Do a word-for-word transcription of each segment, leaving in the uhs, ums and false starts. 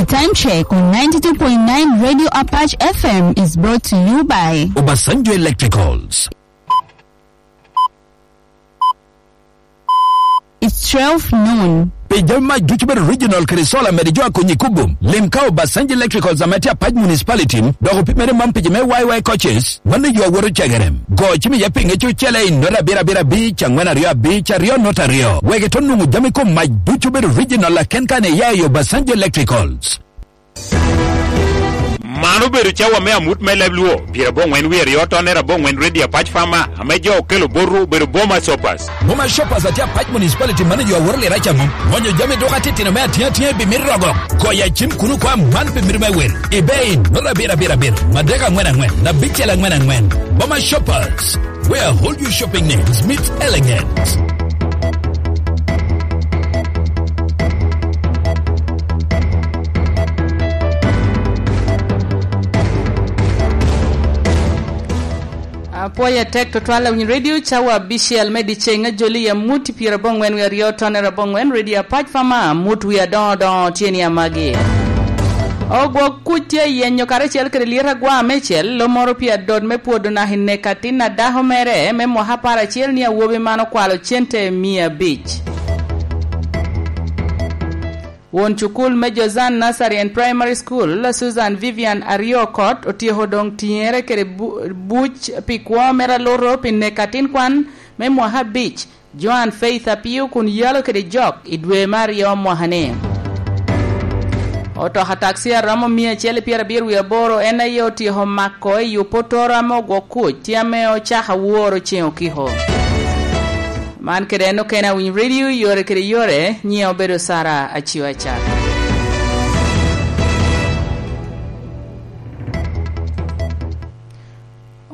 Time check on ninety-two point nine Radio Apache F M is brought to you by Obasanjo Electricals. It's twelve noon. Pi jami mac ducu bedo regional kede solar, mede jo a konyi kubo. Lim ka Obasanjo Electricals ame tye Apac Municipality, dok opimere man pi jo me Y Y coaches, mano yo a woto cegere. Go cim iye pi ŋec ocele i nota abiro abiro abic, angwen aryo abic, aryo nota aryo. Wek ito nwoŋo jami kom mac ducu bedo regional aken kan iya i Obasanjo Electricals. Man obedo cawa me amut me leb Luo, pyerabongwen wie aryo tonne rabongwen Ready Apac Farmer, ame jo okelo botwu obedo Boma Shoppers. Boma Shoppers atye Apac Municipality manager a woro lira caŋo. Ŋonyo jami duka titino me atiŋ atiŋ i bimit rogo. Goyo acim kuno kwa man pi mito me wil. I bei, nota abiro abiro abiro, madek angwen angwen, abicel angwen angwen. Boma Shoppers, where all your shopping needs meet elegance. Apwoyo atek tutwal awiny radio cawa abicel me dyeceŋ ajoli i amut i pyerabongwen wie aryo tonne rabongwen radio Apac Farmer, amut wie adoŋo doŋo tye ni amagi. Ogwok kuc tye ayenyo karacel kede lyet agwa me cel, lo moro pi adot me pwodo naka i nek atin a dako mere me mwaka apar acel ni awobi man okwalo cente mia abic. Won cukul me Jozan Nursery and Primary School, Susan Vivian Ariokot, otyeko doŋ tiŋere kede bu-, buc pi kwo mere aluto pi nek atin kwan me mwaka abic, Joan Faith Apio, kun yalo kede jok i dwe me aryo mwaka-ni. Otoka takci a romo mia acel i pyerabiro wie aboro en aye otyeko mako i Opotoro ame ogwok kuc, tye ame ocako aworo ceŋ okiko. Man kede en okene awiny radio yore kede yore, nyiŋe obedo Sara Acio Acat.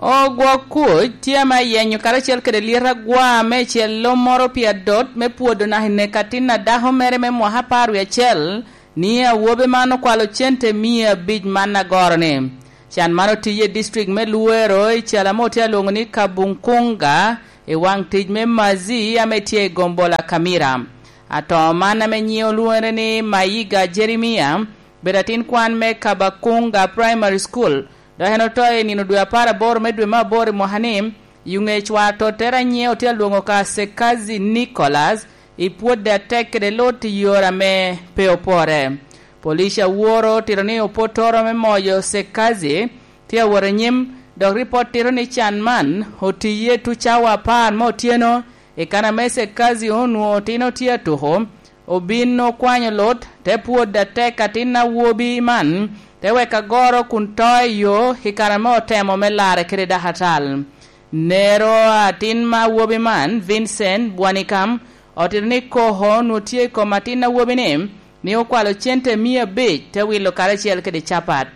Ogwok kuc tye ame ayenyo karacel kede lyet agwa me cel lo moro pi adot me pwodo naka i nek atin a dako mere me mwaka apar wie acel, ni awobi man okwalo cente mia abic man agoro-ni. Can man otiye i district me Luwero i calo ame otye alwoŋo ni Kabunkunga i waŋ tic me Mazi ame tye i gombola Kamira. Ato man ame nyiŋe olwoŋere ni Mayiga Jeremia, bedo atin kwan me Kabakunga Primary School, dok en oto i nino dwe apar aboro me dwe me aboro i mwaka-ni, i ŋec wa tottere a nyiŋe otye alwoŋo ka Sekazi Nicholas, i pwodde atek kede lut i yore ame pe opore. Police aworo otito ni opotoro me moyo Sekazi tye awot anyim, dok ripot tito ni can man otiye tucawa apar me otyeno, i kan ame Sekazi onwoŋo otino tye atuko, obin okwanyo lut, te pwod atek atin awobi man, te weko agoro kun to i yo i kare ame otemo me larre kede dakatal. Nero atin ma awobi man, Vincent Bwanikam, otito ni koko onwoŋo tye i kom atin awobi-ni, ni okwalo cente mia abic te wilo karacel kede capat.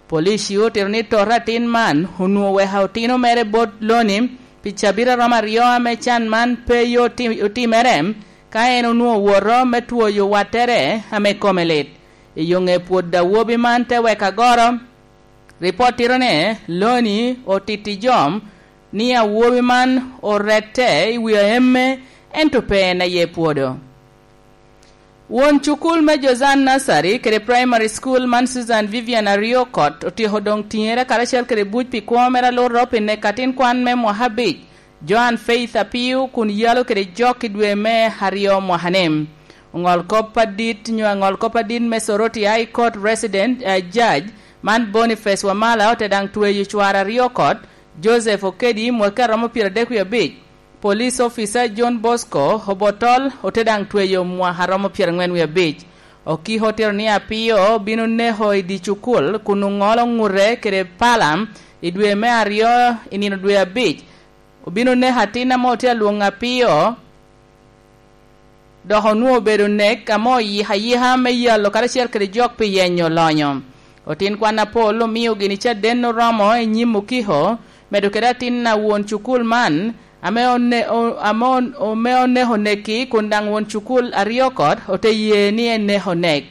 Police otito ni toto atin man onwoŋo oweko otino mere bot Loni pi cabit a romo aryo ame can man pe yo ti-, otimere, ka en onwoŋo woto me twoyo wattere ame kome lit. I yo ŋe pwod awobi man te weko agoro, ripot tito ni Loni otito i jom ni awobi man orette i wi aemme, ento pe en aye pwodo. Won cukul me Jozan Nursery kede Primary School man Susan Vivian Ariokot otyeko doŋ tiŋere karacel kede buc pi kwo mere aluto pi nek atin kwan me mwaka abic, Joan Faith Apiu, kun yalo kede jok i dwe me aryo mwaka-ni. Oŋol kop adit nyo aŋol kop adit me Soroti High Court Resident, eh, Judge man Boniface Wamala ote daŋ tweyo cware Ariokot, Joseph Okedi, mwaka a romo pyeradek wie abic, Police Officer John Bosco Obotol ote daŋ tweyo mwaka a romo pyeraŋwen wie abic. Okiko otito ni Apiyo bino neko i dye cukul kun oŋolo ŋute kede pala i dwe me aryo i nino dwe abic. Obino neko atin ame otye alwoŋo Apiyo, dok onwoŋo obedo nek ame oyiko ayika me yalo karacel kede jok pi yenyo lonyo. Otin kwan apol omio gini caden oromo i nyim okiko, medo kede atin a won cukul man, ame one-, o-, ame on-, ame oneko neki, kun daŋ won cukul Ariokot ote ye ni eneko nek.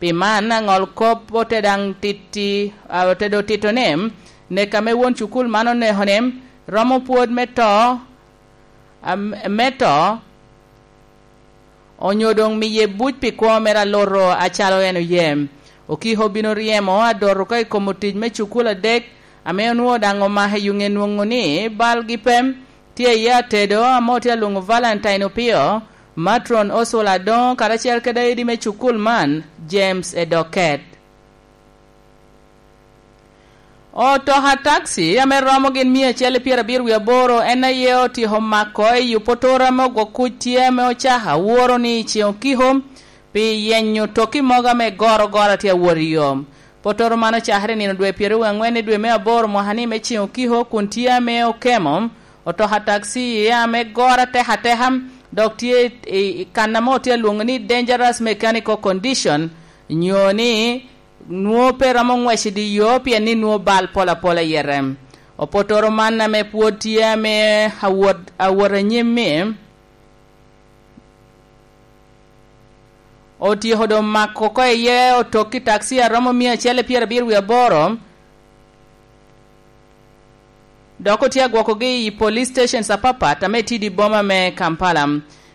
Pi man, aŋol kop ote daŋ titti, a, ote do tito ni, nek ame won cukul man oneko ni, romo pwod me to, am-, me to, onyo doŋ miye buc pi kwo mere aluto acalo en oye. Okiho obino ryemo adot oko i kom otic me cukul adek ame onwoŋo daŋ omako i yuŋe nwoŋo ni balgi pe. Tye iye atedo ame otye alwoŋo Valentine Opio, Matron Oswald Adoŋo, karacel kede aidi me cukul man, James Edoket. Otoka takci ame romo gin mia acel i pyerabiro wie aboro en aye otyeko mako i Opotoro ame ogwok kuc tye ame ocako aworo ni i ceŋ okiko pi yenyo toki mogo ame goro goro tye awot i yo. Potoro man ocakere i nino dwe pyeraryo angwen i dwe me aboro mwaka ni me ceŋ okiko kun tye ame okemo otoka takci iye ame goro atek ateka, dok tye i kan ame otye alwoŋo ni dangerous mechanical condition, nyo ni nwoŋo pe romo ŋwec i dye yo pien ni nwoŋo bal pol apola i yete. Opotoro man ame pwod tye ame awot, awot anyim-mi, otyeko doŋ mako oko iye otokki takci a romo mia acel i pyerabiro wie aboro, dok otye agwokogi i police stations apapat ame tye i dye boma me Kampala.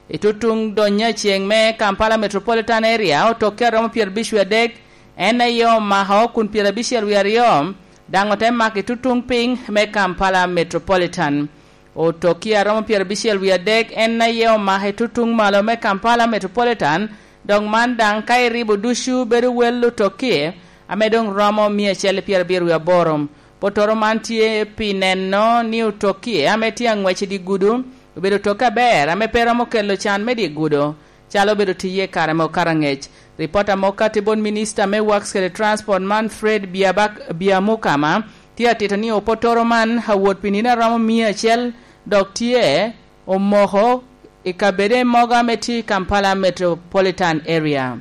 I tutuŋ donyo aceŋ me Kampala Metropolitan Area, otokki a romo pyerabic wie adek en aye omako kun pyerabicel wie aryo daŋ ote mako i tutuŋ piny me Kampala Metropolitan. Otokki a romo pyerabicel wie adek en aye omako i tutuŋ malo me Kampala Metropolitan, dok man daŋ ka iribo ducu bedo wel otokki ame doŋ romo mia acel i pyerabiro wie aboro. Potoro man tye pi neno ni otokki ame tye aŋwec i dye gudo obedo tokke aber ame pe romo kelo can me dye gudo, calo obedo tiye i kare me okato aŋec. Ripota mo kati bot Minista me Works kede Transport man Fred Biabak-, Biamukama tye atito ni opotoro man awot pi nino a romo mia acel dok tye omoko i kabede mogo ame tye i Kampala Metropolitan Area.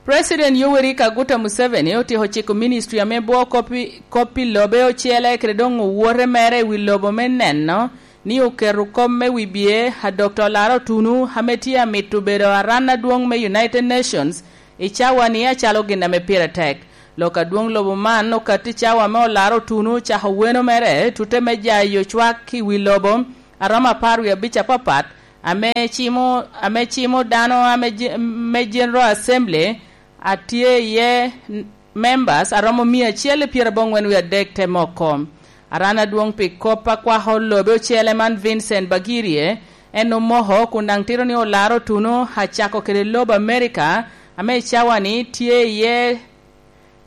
President Yoweri Kaguta Museveni otyeko ciko ministry ame bwo kop i, kop i lobe ocele kede doŋ owote mere i wi lobo me neno ni oketo kop me wibye a Dokta Olaro Otunu ame tye amito bedo aran adwoŋ me United Nations i cawa-ni acalo gin ame pire tek. Lok adwoŋ lobo man okatti cawa ame Olaro Otunu ocako weno mere tute me jayo cwak i wi lobo a romo apar wie abic apapat ame cimo, ame cimo dano ame je-, me General Assembly a tye iye n-, members a romo mia acel i pyeraboŋwen wie adek te moko. Aran adwoŋ pi kop a kwako lobe ocele man Vincent Bagirie, en omoko kun daŋ tito ni Olaro Otunu acako kede lobo Amerika ame i cawa-ni tye iye,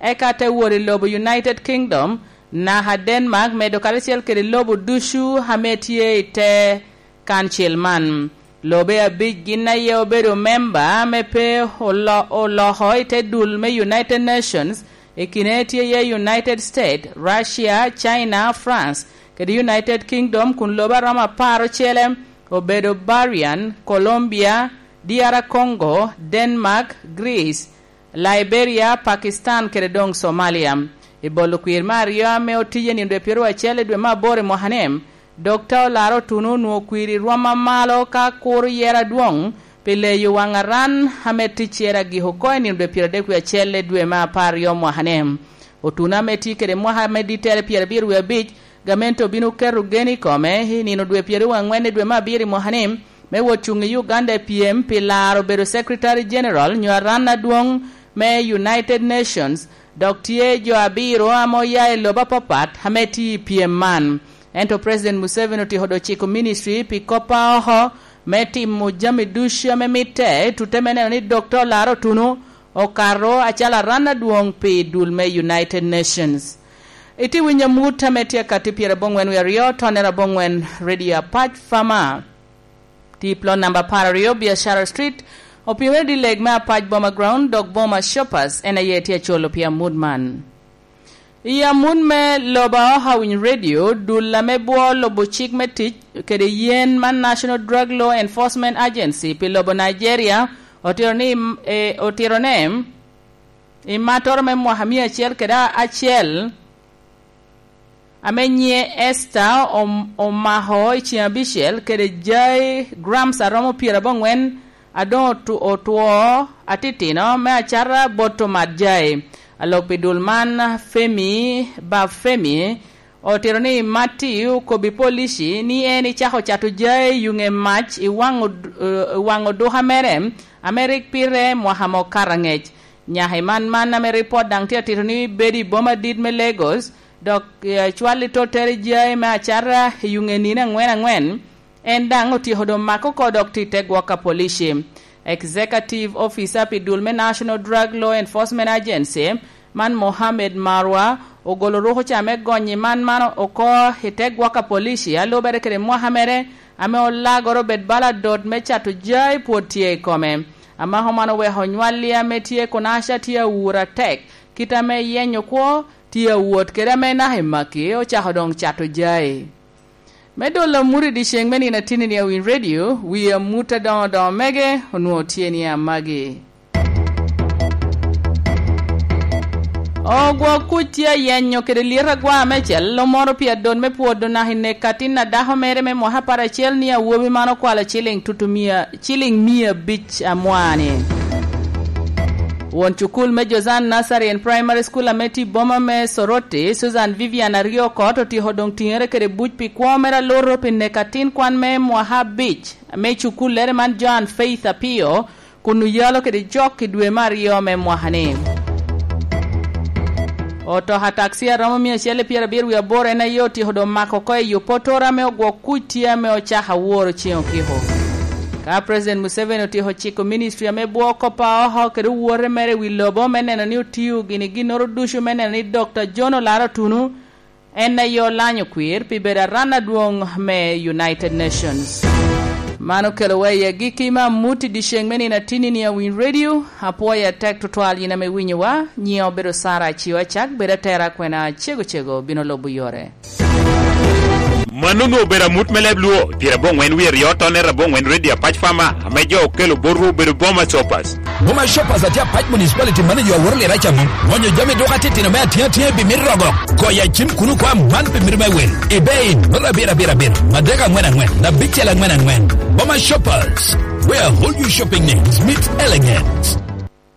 eka te wot i lobo United Kingdom, naka Denmark, medo karacel kede lobo ducu ame tye i te kancil man. Lobe abic gin aye obedo memba ame pe olo-, oloko i te dul me United Nations, i kine tye iye United States, Russia, China, France, kede United Kingdom, kun lobe a romo apar ocele obedo Bahrain, Colombia, D R Congo, Denmark, Greece, Liberia, Pakistan kede doŋ Somalia. I bolo kwir me aryo ame otiye nino dwe pyeraryo acel i dwe me aboro i mwaka-ni, Dokta Olaro Otunu onwoŋo kwir i rwom amalo ka kuro yero adwoŋ pi leyo waŋ aran ame ticcere agik oko i nino dwe pyeradek wie acel i dwe me apar aryo mwaka-ni. Otunu ame tye kede mwaka me dittere pyerabiro wie abic, gamente obino keto gen i kome i nino dwe pyeraryo angwen i dwe me abiro i mwaka-ni, me wot cuŋ i Uganda i pyem pi laro bedo Secretary General nyo aran adwoŋ me United Nations, dok tye jo abiro ame oya i lobo apapat ame tye i pyem man. Ento President Museveni otyeko doŋ ciko ministry pi kop a oko me timo jami ducu ame mitte, tute me neno ni Dokta Olaro Otunu okato acalo aran adwoŋ pi dul me United Nations. Itye winyo amut ame tye akatti pyeraboŋwen wie aryo, tonnere aboŋwen, Radio Apac Fama. Tye i plot namba apar aryo, Biashara Street, opimere dileg me Apac Boma Ground, dok Boma Shoppers en aye tye acolo pi amut man. I amut me lobo a Ohawiny Radio, dul ame bwo lubo cik me tic kede yen man National Drug Law Enforcement Agency pi lobo Nigeria otito ni, eh, otito ne i mattoro me mwaka mia acel kede acel ame nyiŋe Esther om-, omako i ceŋ abicel kede jai grams a romo pyeraboŋwen a doŋ otu-, otwo atitino me acata bot omat jai. Alok pi dul man, Femi Bafemi, otito ni Matti okobbi polici ni en icako cato jai i yuŋe mac i waŋ od-, eh, waŋ oduka mere ame rik pire mwaka mo kato aŋec. Nyaka i man man ame ripot daŋ tye atito ni bedo i boma adit me Lagos, dok, eh, cwal i tottere jai me acata i yuŋe nino aŋwen aŋwen, en daŋ otyeko doŋ mako oko dok tye i te gwok a police. Executive Officer pi dul me National Drug Law Enforcement Agency, man Mohammed Marwa, ogolo ruko ca me gonyo i man man oko i te gwok a police, a lubere kede mwaka mere, ame olagoro obed bala dot me cato jai pwod tye i kome. Amako man oweko nywalli ame tye i Kunaca tye awur atek, kit ame yenyo kwo tye awot kede ame naka i maki ocako doŋ cato jai. Me dolo amut i dyeceŋ me nino atinni a Winy Radio, wi amut adoŋo doŋo mege onwoŋo tye ni amagi. Ogwok kuc tye ayenyo kede lyet agwa me cel omoro pi adot me pwodo naka i nek atin a dako mere me mwaka apar acel ni awobi man okwalo ciliŋ tutu mia, ciliŋ mia abic amwani. Won cukul me Jozan Nursery and Primary School ame tye i boma me Soroti, Susan Vivian Ariokot, otyeko doŋ tiŋere kede buc pi kwo mere aluto pi nek atin kwan me mwaka abic me cukullere man Joan Faith Apio, kun oyalo kede jok i dwe me aryo me mwaka-ni. Otoka takci a romo mia acel i pyerabiro wie aboro en aye otyeko doŋ mako oko i yo Potoro ame ogwok kuc tye ame ocako aworo ceŋ okiko. Ka President Museveni otyeko ciko ministry ame bwoko pa oko kede owote mere i wi lobo me neno ni otio gini ginnoro ducu me neno ni Doctor John Olaro Otunu en aye olanyo kwir pi bedo aran adwoŋ me United Nations. Man okelowa i agikki me amut i dyeceŋ me nino atinni ni a Winy Radio. Apwoyo atek tutwal yin ame winyowa. Nyiŋa obedo Sara Acio Acak, bed atera kwena cego cego bino lubo yore. Mano onwoŋo obedo amut me leb Luo, pyerabongwen wie aryo tonner abongwen Radio Apac Farmer, ame jo okelo botwu obedo Boma Shoppers. Boma Shoppers atye Apac Municipality manager aworo lira camo. Ŋonyo jami duka titino me atiŋa atiŋa pi mit rogo. Goyo acim kuno kwa man pi mit me wel. Ebay, nota abiro abiro abiro, madek angwen angwen, abicel angwen angwen. Boma Shoppers, where all your shopping needs meet elegance.